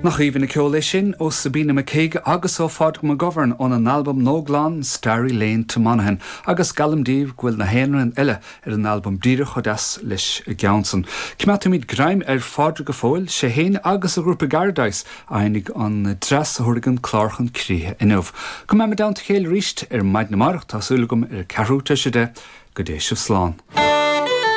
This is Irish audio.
Nach aoibhinn an ceol é sin ó Sabina McKeague agus ó Phádraig McGovern óna n-albam nua glan Starry Lane to Monaghan agus geallaim daoibh go bhfuil na hamhráin eile ar an albam díreach chomh deas leis an gceann san. Coimeádfaimid greim ar Phádraig go fóill, sé fhéin agus a ghrúpa Garadice a sheinnfidh an dreas a thabharfaidh an clár chun críche inniu. Go mbeimid i dteannta a chéile arís ar maidin amárach, tá súil agam, ar a ceathrú tar éis 10, go dté sibh slán.